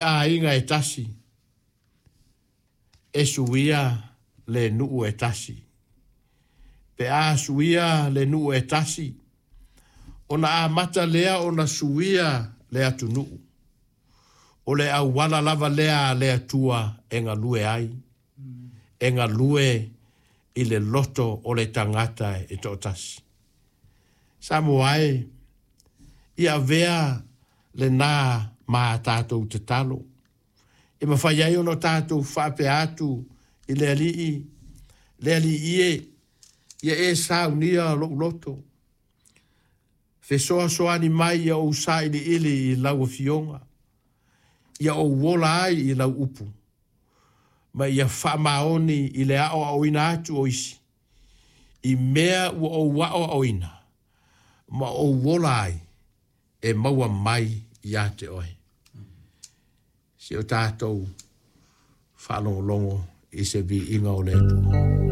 Aiga e tasi, e suia le nuu e tasi. Pe a suia le nuu e tasi, ona amata lea ona suia le atunuu. O le auala lava lea a le Atua e galue ai, e galue i le loto o le tagata e toatasi. Samoa e, ia avea lena ma tatou tatalo. E mafai ai ona tatou faapea atu i le Alii, le Alii e, ia e saunia lou loto, fesoasoani mai ia ou sailiili i lau Afioga, ia ou ola ai i lau upu, ma ia faamaoni i le aoaoina atu o isi, i mea ua ou aoaoina ma ou ola ai, e maua mai ia te oe. Si o tatou faalogologo i se viiga o le Atua.